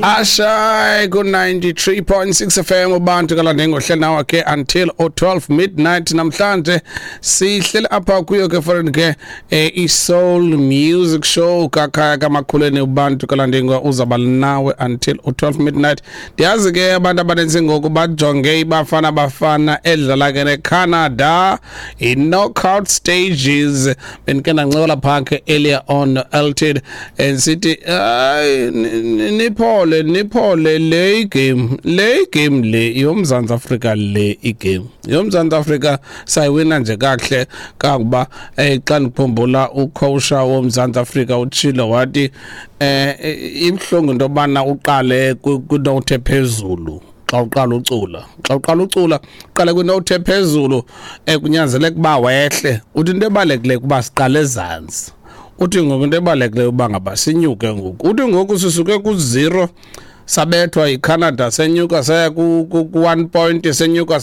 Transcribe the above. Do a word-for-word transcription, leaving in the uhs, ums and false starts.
Ashay ku ninety-three point six F M, uBantu kaLandingo hleli nawe ke until o twelve midnight. Namhlanje sihleli apha kuyo ke foreign ke eh, i-Soul Music Show kakhaya kamakhuleni. Ubantu kaLandingo uzaba nawe until o twelve midnight. Ndiyazi ke abantu abaninzi ngoku bajonge iBafana Bafana edlala ke neCanada i-knockout stages. Bendike ndancokola phaa ke earlier on Elted and sithi hayi, niphole, niphole, le game le game le yoMzantsi Afrika, le igame yoMzantsi Afrika sayiwina nje kakuhle kangoba eh xa ndikhumbula ucoach woMzantsi Afrika utshilo wathi eh ibhlungu into yobana uqale kwinote phezulu. Xa uqala ucula, xa uqala ucula, uqale kwinote phezulu, eh kunyanzeleka uba wehle. Uthi into ebalulekileyo kuba siqale ezantsi. Uthi ngoku into ebalulekileyo uba ngaba sinyuke ngoku. Uthi ngoku sisuke ku-zero, sabethwa yiCanada, senyuka saya ku-one point, senyuka.